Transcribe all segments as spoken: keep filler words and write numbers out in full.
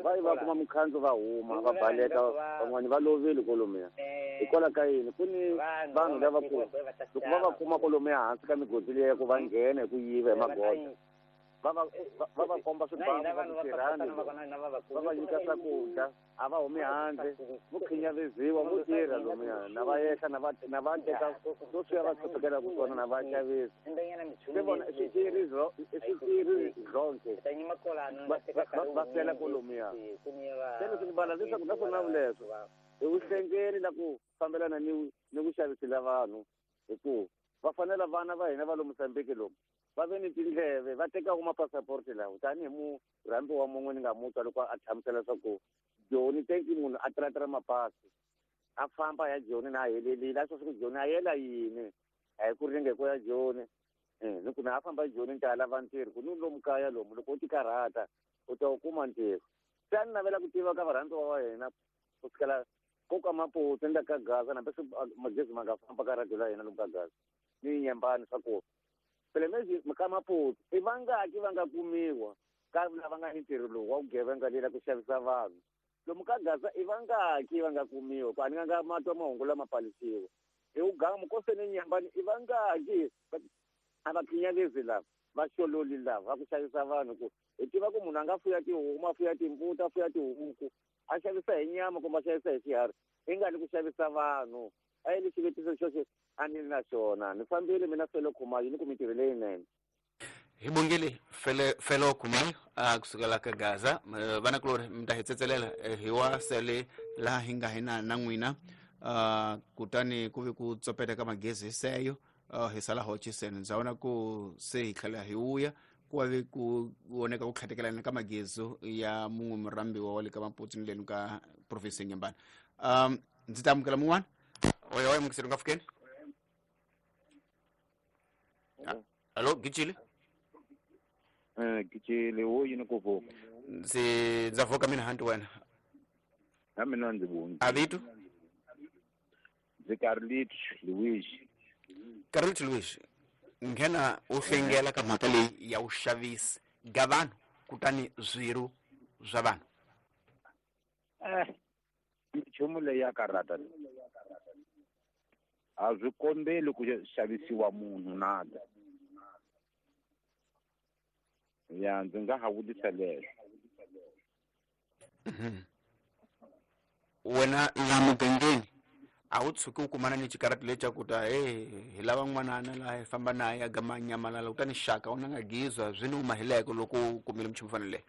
Va yi va kuma mukhandzo va huma va baleka van'wani va lovile kolomiya. Hikwalaho ka yini ku ni vanhu lava ku loko va va kuma kolomiya hansi ka migodi leyi ku va nghena hi ku yiva hi magoda. Va va va va komba swibamu va ku tirhani va va nyika swakudya a va humi handle vo khinyavisiwa vo tirha lomuya na va yehla na va na va teka sweswiya va hluphekelaku swona na va xavisa se vona i swiciri i swiciri zonke va fela kolomuya. Se leswi ni vala leswaku naswona vuleswo i vuhlengeli la ku fambelana ni ni ku xavisela vanhu hi ku va fanela vana va hina va lomu Mozambique lomu va ve ni tindleve va tekaka mapassaporti lawa tanihi murhambi wa mun'we ni nga mu twa loko a hlamusela leswaku Joni tenki munhu a tiratira mapasi a famba ya Joni na a helelile a swa ku Joni a yela yini a hi ku ringe ko ya Joni ni ku na a famba Joni ni ta lava ntirho ku ni lomu kaya lomu loko u ti karhata u ta wu kuma ntirho. Se a ni navela ku tiva ka varhandziwa wa hina ku sukela ko ka Maputo ni la ka Gaza hambi swi magezi ma nga famba ka radio la hina lomu ka Gaza ni Nyembani swa ku phela mezi ka Maputo i vangaki va nga kumiwa ka lava nga ni ntirho lowu wa vugevenga lela ku xavisa vanhu lomu ka Gaza i vangaki va nga kumiwa ku a ni nga nga matwa mahungu lama palisiwa hi ugamu koseni Nyembani i vangaki a va khinyavezi lava va xololi lava va ku xavisa vanhu ku hi tiva ku munhu a nga fuya tihomu a fuya timbuti a fuya tihuku a xavisa hi nyama kumbe a xavisa hi xiharhi i nga li ku xavisa vanhu a yi li xivutiso xoxo a ni na xona ni fambile mina Felo Khumalo ni ku mintirho leyinene. Hi bongile fele Felo Khumalo a kusukela ka Gaza vanakulori mi ta hi tsetselela hi wa sele laha hi nga hina na n'wina kutani ku ve ku tsopeta ka magezi seyo hi sala hoxiseni ndza vona ku se hi tlhela hi vuya ku va ve ku voneka ku tlhatekelana ka magezi ya mun'we murhambiwa wa le ka Maputo ni leni ka province ya Nyembani. Um ndzi ta amukela mun'wana oyo oyo mukiseri nga fikeni. Alo Gicile. Eh Gicile wo yini ku vuka ndzi ndza vuka mina hanti wena na mina ndzi voni a vito ndzi Carlito Luis. Carlito Luis nghena u hlengela ka mhaka leyi ya vuxavisi ga vanhu kutani swirho swa vanhu. Eh nchumu leyi ya karhata a swi kombeli ku xavisiwa munhu nada ya ndzi nga ha vutisa leswo. Wena la mugangeni a wu tshuki u kumana ni xikarati lexi ku ta he hi lava n'wanana laha hi famba naye a gama nyamalala kutani xaka u na nga gizwa swi ni humahileke loko u kumile minchumu faneleke.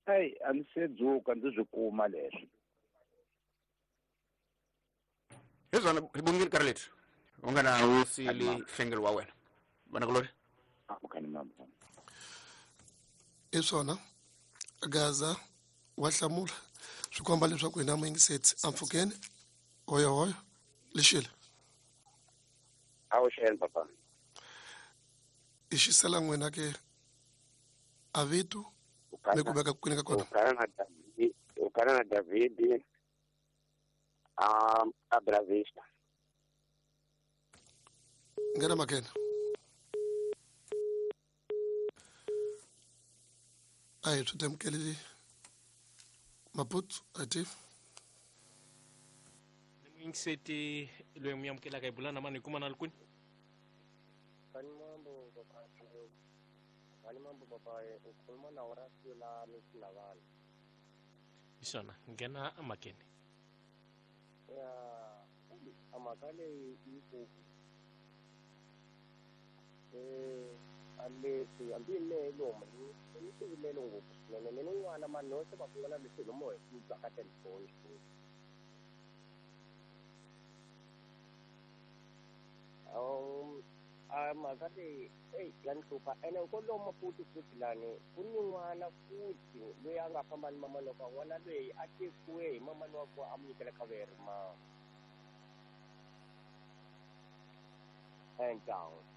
Eyi a ndzi se dzuka ndzi swi kuma leswi. Hi swona hi bongile Carlito u nga na wu siyile nhlengelo wa wena vanakulori. I swona Gaza wa hlamula swi komba leswaku hina muyingiseti ampfhukeni hoyo hoyo lexile a wu xeni papa i xisela n'wina ke a vito ni ku veka kwini ka kona u kana na David a a Bravista nghena makena a hi swi temukeli Maputo a ti ni muyingiseti loyi mi amukelaka hi bula na mani hi kuma na li kwini. Mambo papa mambo papa u khuluma na Horacio la Misilavana. Hi swona nghena amakeni. Ya a mhaka leyi yi ku eh a leswi hambi mehe lomu ni swivilelo ngopfu swinene mina n'wana mani se va ku na leswi lomu hi swi twa ka telefoni um a mhaka leyi eyi ya ni hlupha ene kwalomu Maputo futhi lani ku ni n'wana futhi loyi a nga famba ni mamani wa n'wana loyi a tekiwe hi mamani wa ku a mu nyikela khaveri ma and down.